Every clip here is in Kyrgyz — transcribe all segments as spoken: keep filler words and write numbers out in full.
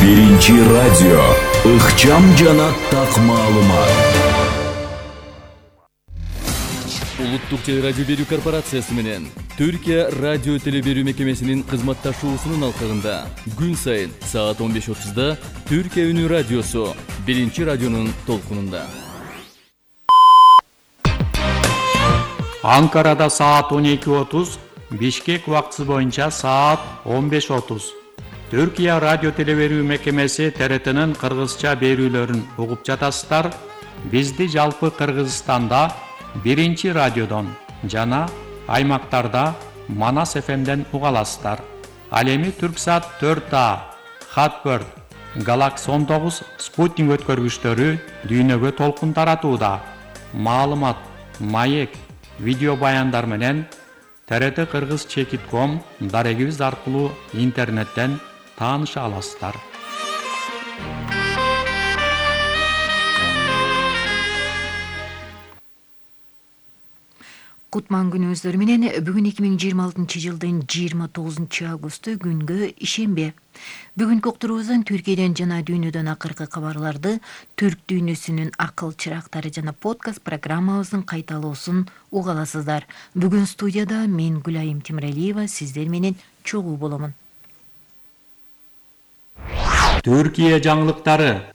Биринчи радио. Ыкчам жана так маалымат. Улуттук телерадио берүү корпорациясы менен Түркия радио телеберүү мекемесинин кызматташуусунун алкагында күн сайын саат он беш отузда Түркия үнү радиосу Биринчи радионун толкунунда. Анкарада саат он эки отуз, Бишкек убактысы боюнча саат он беш отуз. Түркия радио телеберүү мекемеси Т Р Т'нин кыргызча берүүлөрүн угуп жатасыздар. Бизди жалпы Кыргызстанда Биринчи радиодон жана аймактарда Манас Ф M'ден уга аласыздар. Ал эми Түрксат төрт А, Хатберт, Галакс он тогуз спутник өткөргүчтөрү дүйнөгө толкун таратууда. Маалымат, маек, видео баяндар менен Т Р Т Кыргыз чекит ком дарегибиз аркылуу интернеттен тааныша аласыздар. Кутман күнүңүздөр менен бүгүн эки миң жыйырма алтынчы жылдын жыйырма тогузунчу августу күнгө ишемби. Бүгүнкү уктуруубуздан Түркияден жана дүйнөдөн акыркы кабарларды, түрк дүйнөсүнүн акыл чырактары жана подкаст программабыздын кайталоосун уга аласыздар. Бүгүн студияда мен Гүлайым Темиралиева сиздер менен чогуу боломун. Түркия жаңылыктары.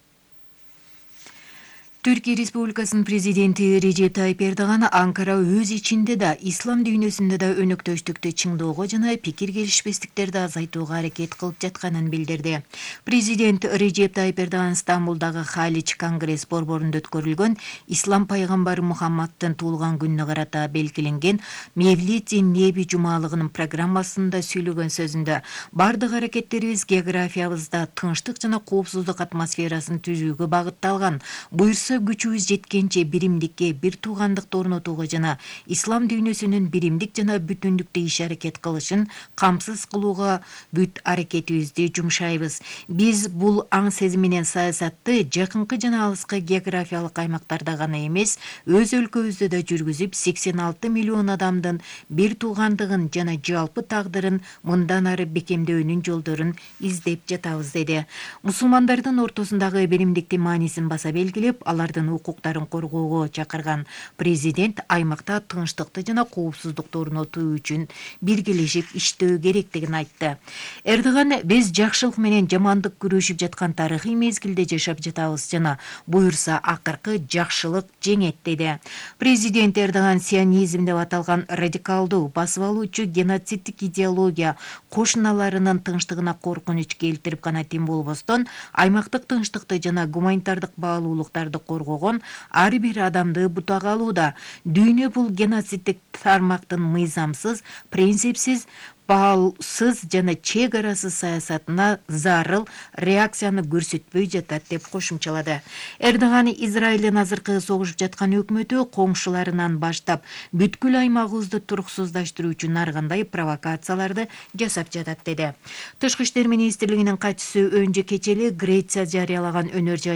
Түркия Республикасынын президенти Режеп Тайип Эрдоган Анкара өз ичинде да, ислам дүйнөсүндө да өнөктөштүктү чыңдоого жана пикир келишпестиктерди азайтууга аракет кылып жатканын билдирди. Президент Режеп Тайип Эрдоган Стамбулдагы Халич конгресс борборунда өткөрүлгөн Ислам пайгамбары Мухаммадтын туулган күнүнө карата белгиленген Мевлид Неби жумалыгынын программасында сүйлөгөн сөзүндө бардык аракеттерибиз географиябызда тынчтык жана коопсуздук атмосферасын түзүүгө багытталган. Буюрса күчүбүз жеткенче биримдикке, бир туугандыкты орнотууга жана ислам дүйнөсүнүн биримдик жана бүтүндүктө иш аракет кылышын камсыз кылууга бүт аракетибизди жумшайбыз. Биз бул аң сезим менен саясатты жакынкы жана алыскы географиялык аймактарда гана эмес, өз өлкөбүздө да жүргүзүп, сексен алты миллион адамдын бир туугандыгын жана жалпы тагдырын мындан ары бекемдөөнүн жолдорун издеп жатабыз, деди. Мусулмандардын ортосундагы биримдиктин маанисин баса белгилеп, алардын укуктарын коргоого чакырган президент аймакта тынчтыкты жана коопсуздукту орнотуу үчүн биргелешип иштөө керектигин айтты. Эрдоган биз жакшылык менен жамандык күрөшүп жаткан тарыхый мезгилде жашап жатабыз жана буюрса акыркы жакшылык жеңет, деди. Президент Эрдоган сионизм деп аталган радикалдуу, басып алуучу геноциддик идеология кошуналарынын тынчтыгына коркунуч келтирип гана тим болбостон, аймактык тынчтыкты жана гуманитардык баалуулуктарды коргогон ар бир адамды бутага алууда. Дүйнө бул геноциддик тармактын мыйзамсыз, принципсиз, баалсыз жана чек арасыз саясатына зарыл реакцияны көрсөтпөй жатат, деп кошумчалады. Эрдоган Израилдин азыркы согушуп жаткан өкмөтү коңшуларынан баштап бүткүл аймагыбызды туруксуздаштыруу үчүн ар кандай провокацияларды жасап жатат, деди. Тышкы иштер министрлигинин катчысы Өнжө Кечели Греция жарыялаган өнөр жай